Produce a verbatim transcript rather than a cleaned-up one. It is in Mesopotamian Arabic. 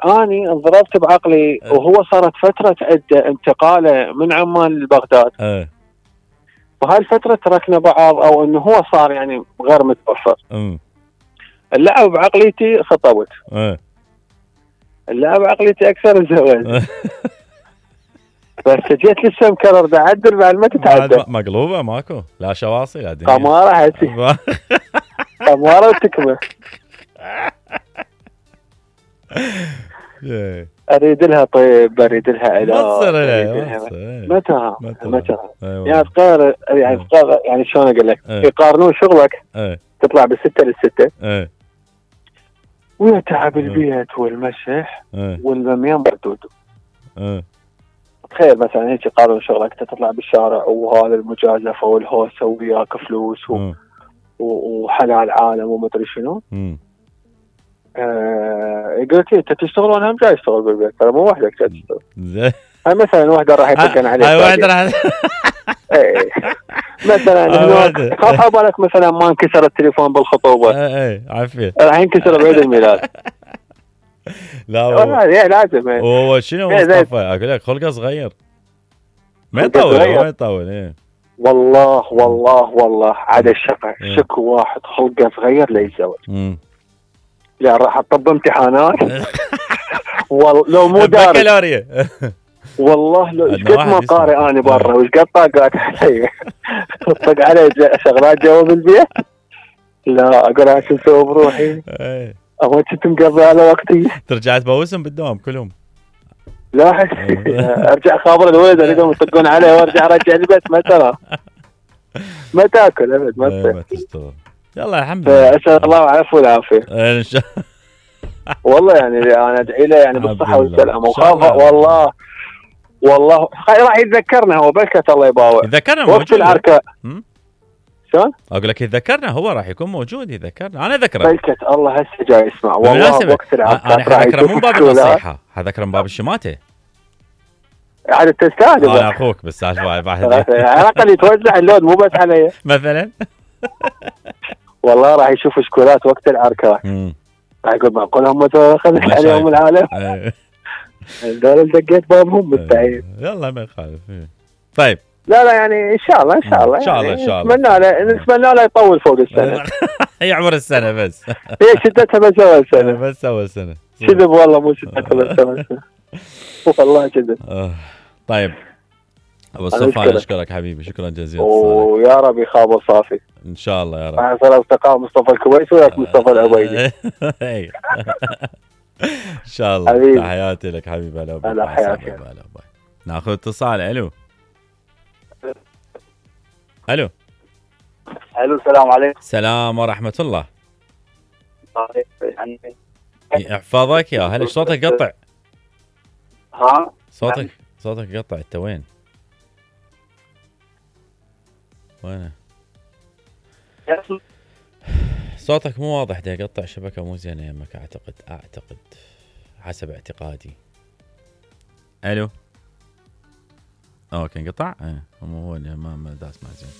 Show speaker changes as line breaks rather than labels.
اني انضربت بعقلي وهو صارت فتره عده انتقاله من عمان لبغداد.
اه
وهاي الفتره تركنا بعض او انه هو صار يعني غير متوفر.
امم
اللعب بعقليتي خطبت.
اه
اللعب بعقليتي اكثر الزواج. بس جيت لسه مكرر دا عدل بعد ما تتعدل.
بعد مقلوبه ماكو لا شواصي لا دنيا.
قماره حسي. قماره وتكمه. اريد لها طيب، اريد لها علاج.
ما تصير
لها متى متى
أيوة.
يعني تقارن يعني تقارن يعني شلون اقول لك
أيوة.
يقارنون شغلك
أيوة.
تطلع بالستة للستة
أيوة.
ويا تعب البيت والمسح والمميان بردود. تخيل مثلا هيك يقارن شغلك تطلع بالشارع وهذا المجازفه والهوسه وياك فلوس و... وحلال عالم ومدري شنو. آه قلت لي انت تشتغل وانا هم جاي اشتغل بالبيت، ترى مو وحدك جاي تشتغل. هاي مثلا واحده راح يطقن عليك.
هاي واحده راح
اي مثلا هناك خاف على بالك مثلا ما انكسر التليفون بالخطوبه.
اي عافيه
راح ينكسر بعيد الميلاد.
لا
والله لازم.
هو شنو مصطفى اقول لك خلقه صغير ما يطول ما يطول. ايه
والله والله والله عاد الشقة شكو واحد خلقه صغير ليتزوج. لا راح اطب امتحانات. والله لو مو دارس
بكالوريا.
والله لو ايش قد ما قارئ انا برا وايش قد طاقات علي. طق علي شغلات جوا بالبيت. لا اقول انا شو اسوي بروحي. اهو كنت مقضي على وقتي.
ترجع تبوسهم بالدوام كلهم.
لا ارجع خابر الولد اريدهم يطقون علي وارجع ارجع البيت ما ترى ما تاكل ابد ما
تشتغل. يلا الحمد لله.
اسال الله العفو والعافيه
ان شاء الله.
والله يعني انا ادعي له يعني بالصحه والسلامه وخاف والله والله راح يتذكرنا هو بلكت الله يباوع.
يتذكرنا
وقت العركه شلون؟
اقول لك يتذكرنا هو راح يكون موجود يتذكرنا انا ذكره
بلكت الله هسه جاي يسمع والله وقت العركه
انا حذكره من باب النصيحه حذكره من باب الشماته.
عاد تستاهل.
انا اخوك بس واحد
على الاقل يتوزع اللود مو بس علي
مثلا.
والله راح يشوف شكولات وقت العركه. راح يقول معقول هم خذ عليهم العالم. هذول دقيت بابهم بالتعيين.
يلا ما يخالف. طيب
لا لا يعني ان شاء الله ان شاء الله
ان شاء الله
يعني
ان شاء الله
نتمنى له نتمنى له يطول فوق السنه.
يعمر السنه بس.
هي شدتها بس اول سنه.
بس اول سنه.
كذب والله مو شدتها بس اول سنه. والله كذب.
طيب ابو صفان اشكرك حبيبي شكرا جزيلا.
ويا رب يخاب صافي
ان شاء الله يا رب.
مع صار اصدقاء مصطفى الكويسي وياك مصطفى العبيدي.
ان شاء الله. تحياتي لك حبيبي. هلا
هلا حياتي.
ناخذ اتصال. الو الو
الو السلام عليكم.
السلام ورحمه الله. يحفظك يا هلا. صوتك قطع.
ها
صوتك صوتك قطع. انت وين وين صوتك مو واضح ده يقطع. شبكه مو زينه يمك اعتقد اعتقد حسب اعتقادي. الو اوكي انقطع. ايه هو ما ما داس ما زين.